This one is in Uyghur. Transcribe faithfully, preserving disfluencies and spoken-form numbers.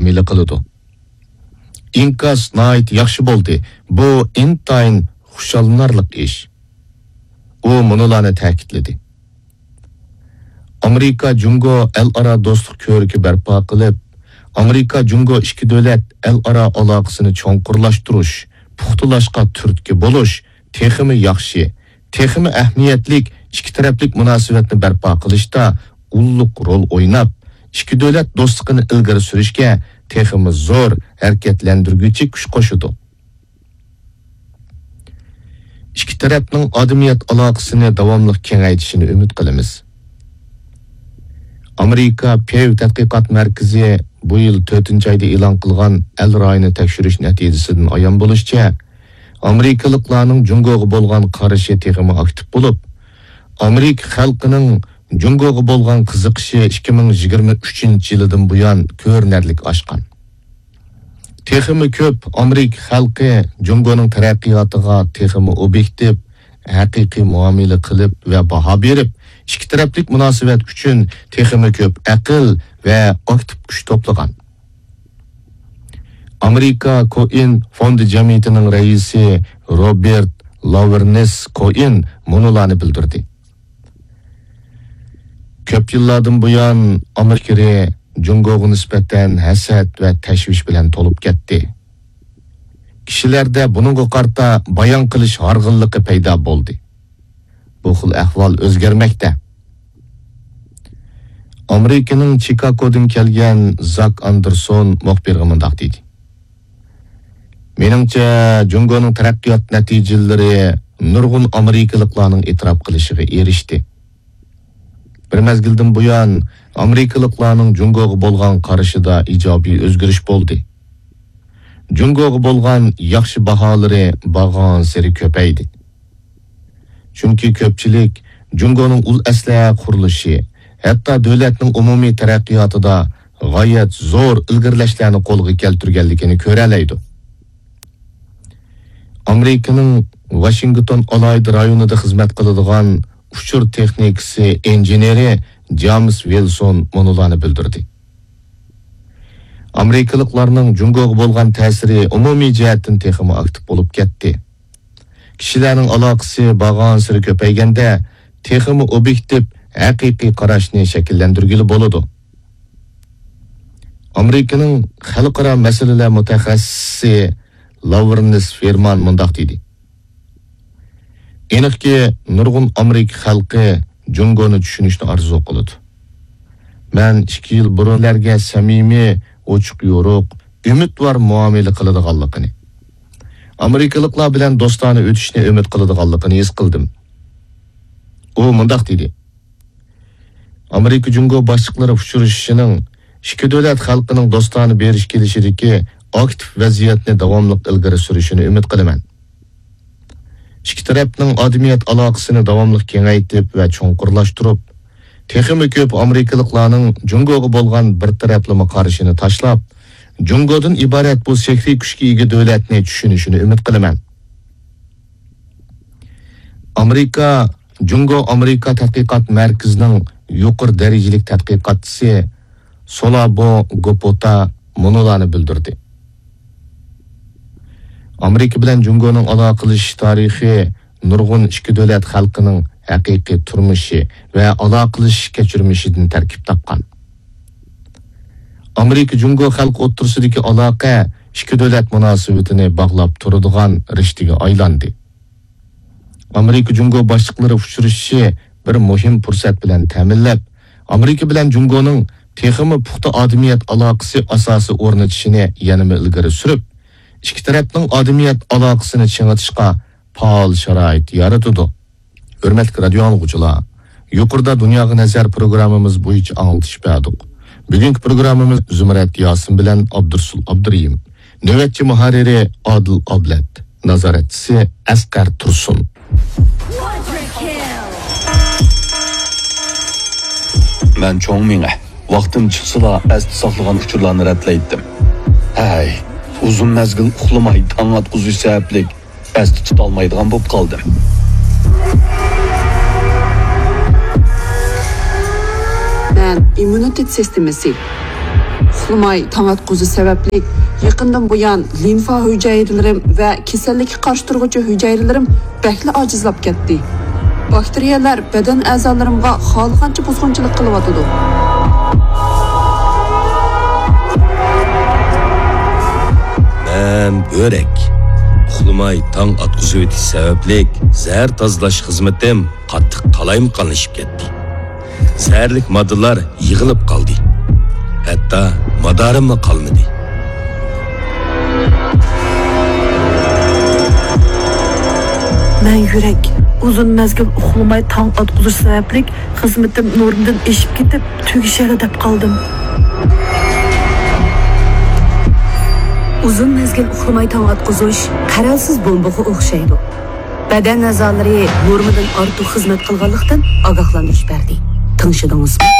مۇئامىلە قىلىدۇ. ئىنكاس ناھايىتى ياخشى بولدى. بۇ ئىنتايىن خۇشاللىنارلىق ئىش. ئۇ مۇنۇلارنى تەكىتلىدى. ئامېرىكا جۇڭگو ئەلئارا دوستلۇق كۆۋرۈكى بەرپا قىلىپ، ئامېرىكا جۇڭگو ئىككى دۆلەت ئەلئارا ئالاقىسىنى چوڭقۇرلاشتۇرۇش، پۇختىلاشقا تۈرتكە بولۇش، تېخىمۇ ياخشى، تېخىمۇ ئەھمىيەتلىك ئىككى تەرەپلىك مۇناسىۋەتنى بەرپا قىلىشتا ئۇللۇق رول ئويناپ، ئىككى دۆلەت دوستلۇقىنى ئىلگىرى سۈرۈشكە تېخىمۇ زور ھەرىكەتلەندۈرگۈچى كۈچ قوشىدۇ. ئىككى تەرەپنىڭ ئادەمىيەت ئالاقىسىنى داۋاملىق كېڭەيتىشىنى ئۈمىد قىلىمىز. ئامېرىكا پېۋ تەتقىقات مەركىزى بۇ يىل تۆتىنچى ئايدا ئېلان قىلغان ئەل رايىنى تەكشۈرۈش نەتىجىسىدىن ئايان بولۇشىچە، ئامېرىكىلىقلارنىڭ جۇڭگوغا بولغان قارىشى تېخىمۇ ئاكتىپ بولۇپ، ئامېرىكا خەلقىنىڭ جۇڭگوغا بولغان قىزىقىشى ئىككى مىڭ يىگىرمە ئۈچىنچى يىلىدىن بۇيان كۆرۈنەرلىك ئاشقان. تېخىمۇ كۆپ ئامېرىكا خەلقى جۇڭگونىڭ تەرەققىياتىغا تېخىمۇ ئوبيېكتىپ، ھەقىقىي مۇئامىلە قىلىپ ۋە باھا بېرىپ، ئىككى تەرەپلىك مۇناسىۋەت ئۈچۈن تېخىمۇ كۆپ ئەقىل ۋە ئاكتىپ كۈچ توپلىغان. ئامېرىكا كوئېن فوندى جەمئىيىتىنىڭ رەئىسى روبېرت لاۋېرنېس كوئېن مۇنۇلارنى بىلدۈردى. كۆپ يىللاردىن بۇيان ئامېرىكا جۇڭگوغا نىسبەتەن ھەسەت ۋە تەشۋىش بىلەن تولۇپ كەتتى. كىشىلەردە بۇنىڭغا قارىتا بايان قىلىش ھارغىنلىقى پەيدا بولدى. بۇ خىل ئەھۋال ئۆزگەرمەكتە. ئامېرىكىنىڭ چىكاگودىن كەلگەن زاك ئاندېرسون مۇخبىرغا مۇنداق دېدى: مېنىڭچە، جۇڭگونىڭ تەرەققىيات نەتىجىلىرى نۇرغۇن ئامېرىكىلىقلارنىڭ ئېتىراپ قىلىشىغا ئېرىشتى. بىر مەزگىلدىن بۇيان، ئامېرىكىلىقلارنىڭ جۇڭگوغا بولغان قارىشىدا ئىجابىي ئۆزگىرىش بولدى. جۇڭگوغا بولغان ياخشى باھالىرى بارغانسېرى كۆپەيدى. چۈنكى كۆپچىلىك جۇڭگونىڭ ئۇل ئەسلىھە قۇرۇلۇشى، ھەتتا دۆلەتنىڭ ئومۇمىي تەرەققىياتىدا غايەت زور ئىلگىرىلەشلەرنى قولغا كەلتۈرگەنلىكىنى كۆرەلەيدۇ. ئامېرىكىنىڭ ۋاشىنگتون ئالاھىدە رايونىدا خىزمەت قىلىدىغان ئۇچۇر تېخنىكىسى ئىنژېنېرى جامېس ۋىلسون مۇنۇلارنى بىلدۈردى: ئامېرىكىلىقلارنىڭ جۇڭگوغا بولغان تەسىرى ئومۇمىي جەھەتتىن تېخىمۇ ئاكتىپ بولۇپ كەتتى. كىشىلەرنىڭ ئالاقىسى بارغانسېرى كۆپەيگەندە، تېخىمۇ ئوبيېكتىپ، ھەقىقىي قاراشنى شەكىللەندۈرگىلى بولىدۇ. ئامېرىكىنىڭ خەلقئارا مەسىلىلەر مۇتەخەسسىسى لاۋرېنس فېرمان مۇنداق دېدى: ئېنىقكى، نۇرغۇن ئامېرىكا خەلقى جۇڭگونى چۈشىنىشنى ئارزۇ قىلىدۇ. مەن ئىككى يىل بۇرۇنلەرگە سەمىمىي، ئوچۇق يورۇق، ئۈمىدۋار مۇئامىلە قىلىدىغانلىقىنى، ئامېرىكىلىقلار بىلەن دوستانە ئۆتۈشنى ئۈمىد قىلىدىغانلىقىنى ھېس قىلدىم. ئۇ مۇنداق دېدى: ئامېرىكا جۇڭگو باشلىقلىرى ئۇچرىشىشىنىڭ ئىككى دۆلەت خەلقىنىڭ دوستانە بېرىش كېلىشىدىكى ئاكتىپ ۋەزىيەتنى داۋاملىق ئىلگىرى سۈرۈشىنى ئۈمىد قىلىمەن. ئىككى تەرەپنىڭ ئادەمىيەت ئالاقىسىنى داۋاملىق كېڭەيتىپ ۋە چوڭقۇرلاشتۇرۇپ، تېخىمۇ كۆپ ئامېرىكىلىقلارنىڭ جۇڭگوغا بولغان بىر تەرەپلىمە قارىشىنى تاشلاپ، جۇڭگودىن ئىبارەت بۇ سېھرىي كۈچكە ئىگە دۆلەتنى چۈشىنىشىنى ئۈمىد قىلىمەن. ئامېرىكا جۇڭگو ئامېرىكا تەتقىقات مەركىزىنىڭ يۇقىرى دەرىجىلىك تەتقىقاتچىسى سولابو گوپوتا مۇنۇلارنى بىلدۈردى: ئامېرىكا بىلەن جۇڭگونىڭ ئالاقىلىشىش تارىخى نۇرغۇن ئىككى دۆلەت خەلقىنىڭ ھەقىقىي تۇرمۇشى ۋە ئالاقىلىشىش كەچۈرمىشىدىن تەركىب تاپقان. ئامېرىكا جۇڭگو خەلقى ئوتتۇرىسىدىكى ئالاقە ئىككى دۆلەت مۇناسىۋىتىنى باغلاپ تۇرىدىغان رىشتىگە ئايلاندى. ئامېرىكا جۇڭگو باشلىقلىرى ئۇچرىشىشى بىر مۇھىم پۇرسەت بىلەن تەمىنلەپ، ئامېرىكا بىلەن جۇڭگونىڭ تېخىمۇ پۇختا ئادەمىيەت ئالاقىسى ئاساسى ئورنىتىشىنى يەنىمۇ ئىلگىرى سۈرۈپ، ئىككى تەرەپنىڭ ئادەمىيەت ئالاقىسىنى چىڭىتىشقا پائال شارائىت يارىتىدۇ. ھۆرمەتلىك رادىيو ئاڭلىغۇچىلار، يۇقىرىدا دۇنياغا نەزەر پروگراممىمىز بويىچە ئاڭلىتىش بەردۇق. بۈگۈنكى پروگراممىمىز زۇمرەت ياسىن بىلەن ئابدۇرسۇل ئابدۇرېھىم. نۆۋەتچى مۇھەررىرى ئادىل ئابلەت، نازارەتچىسى ئەسقەر تۇرسۇن. مەن چوڭ مېڭە ۋاقتىم چىقسىلا ئەستە ساقلىغان ئۇچۇرلارنى رەتلەيتتىم. ھەي، ئۇزۇن مەزگىل ئۇخلىماي تاڭ ئاتقۇزۇش سەۋەبلىك ئەستە تۇتالمايدىغان بولۇپ قالدىم. مەن ئىممۇنىتېت سىستېمىسى. ئۇخلىماي تاڭ ئاتقۇزۇش سەۋەبلىك، يېقىندىن بۇيان لىمفا ھۈجەيرىلىرىم ۋە كېسەللىككە قارشى تۇرغۇچى ھۈجەيرىلىرىم بەكلا ئاجىزلاپ كەتتى. باكتېرىيەلەر بەدەن ئەزالىرىمغا خالىغانچە بۇزغۇنچىلىق قىلىۋاتىدۇ. مەن بۆرەك. ئۇخلىماي تاڭ ئاتقۇزۇۋېتىش سەۋەبلىك زەھەر تازىلاش خىزمىتىم قاتتىق قالايمىقانلىشىپ كەتتى. زەھەرلىك ماددىلار يىغىلىپ قالدى. ھەتتا مادارىممۇ قالمىدى. مەن يۈرەك. ئۇزۇن مەزگىل ئۇخلىماي تاڭ ئاتقۇزۇش سەۋەبلىك خىزمىتىم نورمىدىن ئېشىپ كېتىپ، تۈگىشەرلا دەپ قالدىم. ئۇزۇن مەزگىل ئۇخلىماي تاڭ ئاتقۇزۇش قەرەلسىز بومبىغا ئوخشايدۇ. بەدەن ئەزالىرى نورمىدىن ئارتۇق خىزمەت قىلغانلىقتىن ئاگاھلاندۇرۇش بەردى. تىڭشىدىڭىزمۇ؟